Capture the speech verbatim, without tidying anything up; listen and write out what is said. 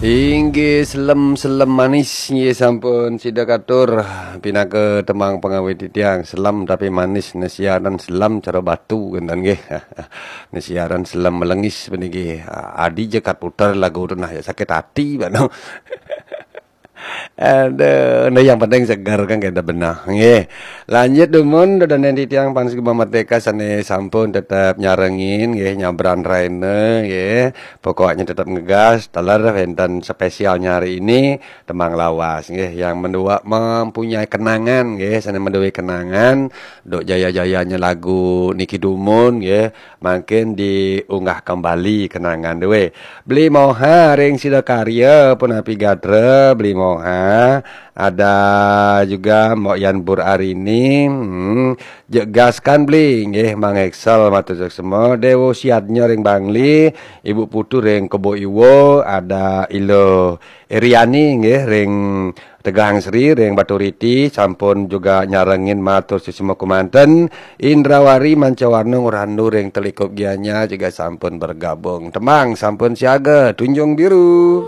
Inggih, selem-selem manis, inggih, sampun sida katur pinaka tembang pangawit titiang, selem tapi manis, ne siaran selem cara batu, kenten nggih. Ne siaran selem melengis puniki. Adi jekat puter lagu tu nah, ya sakit hati bano. Aduh, nah, yang penting segar kan kita benah, nggih. Lanjut dumun, dodonen titiang pangawit Gema Merdeka sane sampun tetep nyarengin, nggih, nyabran raina, nggih. Pokoknya tetap ngegas, taler wenten spesialnya hari ini, tembang lawas, nggih, yang mendua mempunyai kenangan, nggih, sane menduwe kenangan, duk jaya-jayanya lagu niki dumun, nggih, mangkin diunggah kembali kenangan duwe. Beli Moha ring Sidakarya punapi gatra, Beli Moha, ada juga Mbok Yan Bur Arini, hmm, jegaskan Beli, nggih, Mang Excel matur suksma, Dewo Siadnya ring Bangli, Ibu Putu ring Kebo Iwo, ada Ilo Eriani, nggih, ring Tegalang Sri, ring Baturiti, sampun juga nyarengin matur suksma kumanten, Indrawari Mancawarna Ngurandu ring Telikup Gianyar juga sampun bergabung. Tembang sampun siaga, Tunjung Biru.